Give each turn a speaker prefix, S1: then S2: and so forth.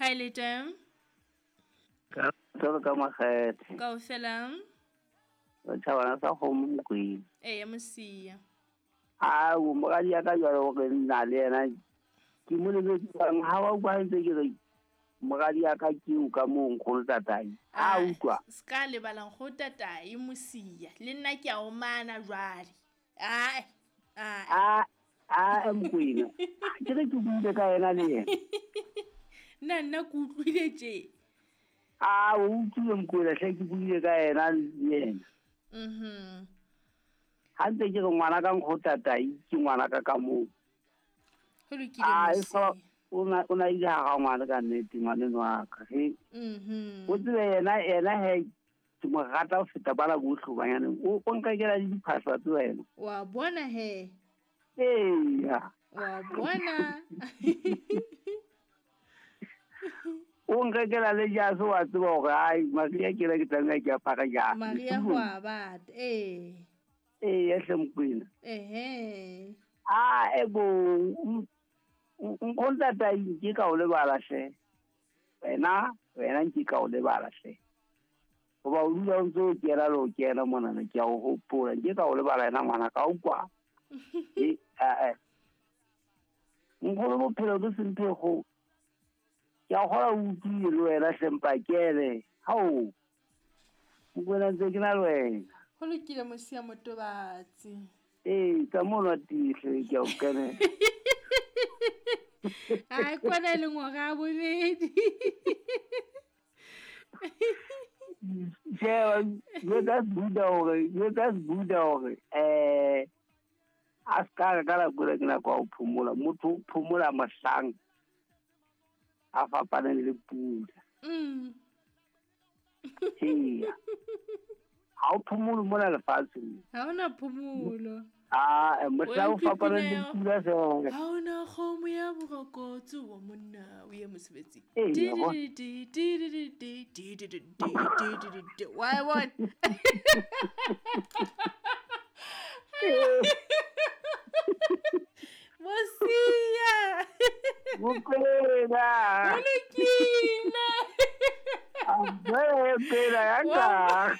S1: Kae le teng?
S2: Ka tsolo ka makgethe.
S1: Kaofela.
S2: Tjhabana sa kgomo Mokwena.
S1: Eya Mosia.
S2: A o moradi ya ka jwale hore nna le yena ke mo lebetse jwang ha wa utlwa ntse ke re moradi ya ka ke o ka moo nkgono tatai. A utlwa.
S1: Ska lebala nkgono tatai Mosia. Le nna ke a o mana jwale. Ai. Ai.
S2: A Mokwena. Ke re ke buile ka yena le yena.
S1: Nna ke utlwile tje.
S2: A o utlwile Mokwena hle ke buile ka yena le yena.
S1: Mhm.
S2: Ha ntse ke re ngwana ka nkgono tatai ke ngwana ka ka moo.
S1: Ho lokile Mosia.
S2: O na ile ha ngwana ka nnete ngwaneno wa ka. He.
S1: Mhm.
S2: O tsebe yena he ke mo rata ho feta bana bohle hobanyane o nkakela le diphahlo tse wena.
S1: Wa bona he.
S2: Eya.
S1: Wa bona.
S2: O nkakela le jase wa tseba hore ai Maria ke la ke tlameha ke apara jase.
S1: Maria ho a bata. Ee.
S2: Ee hle Mokwena.
S1: Ehe.
S2: A ebo nkgono tatai nke ka o lebala hle. Wena nke ka o lebala hle. Hoba o dula o ntse o kena le o kena monana ke a o hopola nke ka o lebala yena ngwana ka utlwa. Nkgono bophelo ke semphego. Ke a kgola o utlwile le wena hle mpakele. Hao. Mokwena ntse ke na le wena.
S1: Ho lokile Mosia Motobatsi.
S2: Ee, ka mono tihle ke a o kenela.
S1: Ai kwana le ngwaga bobedi.
S2: Sheba, jwetsa Buddha hore a ska ka la kula ke nako ya ho phomola. Motho o phomola mohlang a fapaneng le pula.
S1: Mm.
S2: Eya. Ha o phomolo mona lefatsheng.
S1: Ha hona phomolo.
S2: Ah, mohlang o fapaneng le pula feela.
S1: Ha hona kgomo ya borokotso wa monna o ye mosebetsing. Why what? Mosia.
S2: Mokwena.
S1: Ho lokile.
S2: A pela ya ka.